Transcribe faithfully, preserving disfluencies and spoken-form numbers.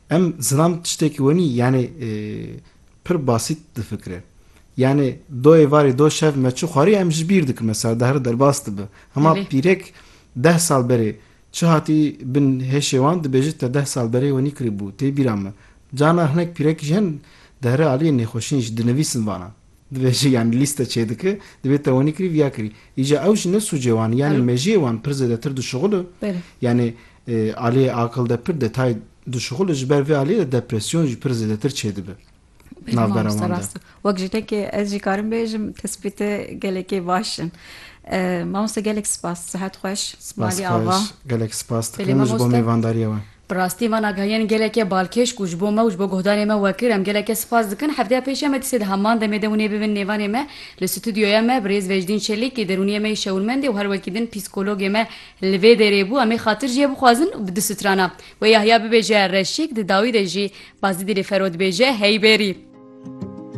Em zilam tiştekî wenî, yani, e, pir basît difikire. Yani, do êvarê, do şev me çi xwarî, em ji bîr dikin, mesela, dehre derbas dibe. Hema Belê. Pîrek deh sal berê çi hatî bin hêşê wan, dibêje te deh sal berê wenî kirî bû, tê bîra me. Cana hinek pîrek jî hene, dehre aliyê nêxweşîn jî dinivîsin vana. Dibêje, yani, lîste çêdike, dibê te wenî kirî, viya kirî. Îca ew jî ne sûcê wan, yani Alo. mejiyê wan pir zêdetir dişuxule. Belê. Yani, e, aliyê aqil de pir detay dişuxule, ji ber vê aliyê de depresyon jî pir zêdetir çêdibe. Belê, navbera mamoste, wan de. Rast e. Wek jinekê ez jî karim bêjim, tespîte gelekê baş in. E, mamoste, gelek spas, sihet xweş, Spas malî ava. Xweş, gelek spas Belê, dikim ji bo mamoste. Mêvandariya we. Bi rastî van agahiyên geleke balkêş ku ji bo me û ji bo guhdarê me we kir, em geleke spas dikin. Hefteya pêşiya me dîsê di heman demê de hûn ê bibin nêvanê me. Li stûdyoya me birêz Vecdîn Çelîkî, derûniyê me yê şewirmendê û her wekî din psîkologê me li vê derê bû. Em ê xatir jê bixwazin û bi du strana. Wê Yahya bibêje reşîk, di dawî de jî Bazîdî li Fero dibêje heyberî.